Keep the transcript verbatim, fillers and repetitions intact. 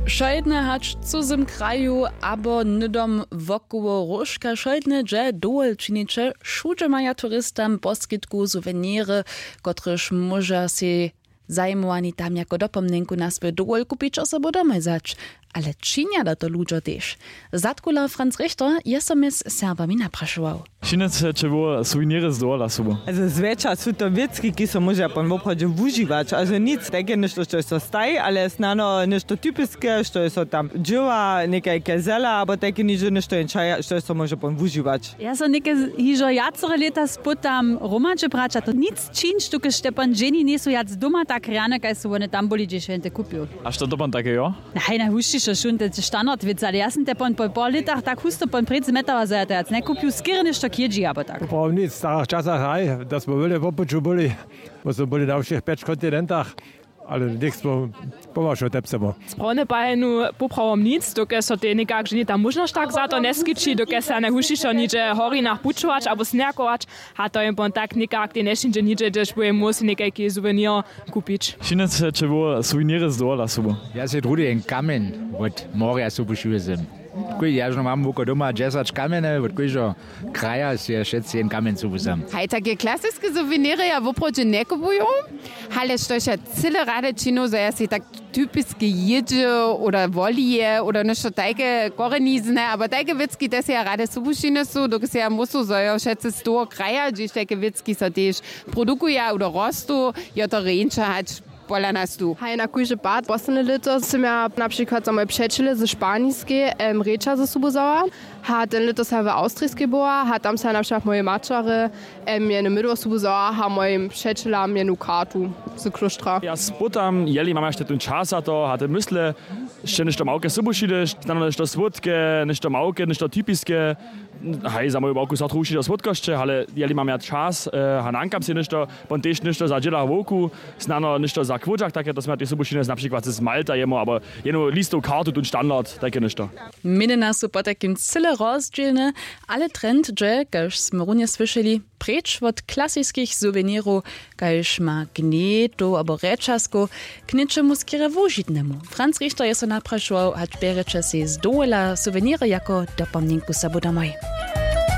Wšojedne hač w cuzym kraju abo hnydom wokoło róžka wšojedne dźe dowol činiće, wšudźe maja turistam poskitku suweniry, kotryž móža sej zajimowani tam jako dopomnjenku na swój dowol kupić a sobu domoj wzać. Ale činja da to ludźo tež? Zadkuler Franz Richter je so mjez Serbami naprašował. Wšinec će wo suweniry z dowola sobu. Zwjetša su to wěcki, ki so móže pon woprawdźe wužiwać, a zo nic tajke něšto što so staji, ale snano něšto typiske što je so tam dźěła někajke zela abo tajke nižo něšto jen čaja što je so móže pon wužiwać. Ja so něke hižo wjacore lěta spytam hromadźe braća to nic čińć dokelž te pon dźeni njejsu wjac doma tak rjane kaž su wone tam byli hdźež je te kupił. A što to pon take jo? Haj, najhušćišo šunte standard wěc, ale ja sym te pon po pol lětach tak husto pon prěc zmetała zo ja te wjac njeku pił skerje něšto k jědźi abo tak. Poprawom nic w starach časach haj, da smo wjele wopuću byli, bo smo byli na wšěch pjeć kontinentach, ale něk smo pomašo tepcemo. Sprawne pahenu, poprawom nic dokelž so te někak ženje ta móžnosć tak za to njeskići dokelž se najhušišo nihdźe w horinach pućować abo sněhakować. A to je pon tak někak te nješindźe nihdźe hdźež bu je móhł sej někajki suvenir kupić. Wšinec će wo suweniry z dowola sobu. Ja sej druhdy jen kamjeń wot morja sobu šiły sym. Kóž ja žno mam woko doma dźesać kamjene wot kóždeho kraja sej wšetcy jen kamjeń sobu sam. Haj, take klasiske suweniry ja woprawdźe njekopuju, ale štož ja cyle rady činu zo ja sej tak typiske jědźe oder wolije oder něšto tajke korenizne abo tajke wěcki te sej ja rady sobu šiny su dokelž sej ja móhł so zo jo wšetcy z toho kraja hdźež tajke wěcki so tež produkuja oder rostu, jo to rjeńša hač pola nas tu. Haj, na kóždy pad posledne lěto sym ja na přikład za moje přećele ze španiskej em rěča ze sobu wzała. Ha ten lěto sym ja w awstrijskej była ha tam sym ja na přikład mojej maćerje em jenu mydło sobu wzała ha mojim přećelam jenu kartu z klóštra. Ja spytam jeli mam jašte tón čas za to ha te mysle sće něšto małke sobu šideš, snano něšto słódke, něšto małke, něšto typiske. Haj, za moju bawku so trochu wšitko słódkosće, ale jeli mam ja čas, eh, a nankam sej něšto, pon tež něšto za dźěla wowku, snano něšto za kłódźak take to smy ja tež sobu šinec na přikład z malta jemu abo jenu listow kartu tón standard tajke něšto. Měnjena su potajkim cyle rozdźělne, ale trend dźe kaž smy runje słyšeli, preč wot klasiskich suwenirow, kaž ma gnjetow abo rjećazkow, k něčemu skerje wužitnemu. Franz Richter je so naprašował hač bjerjeće sej z dowola suweniry jako dopomnjenku sobu domoj.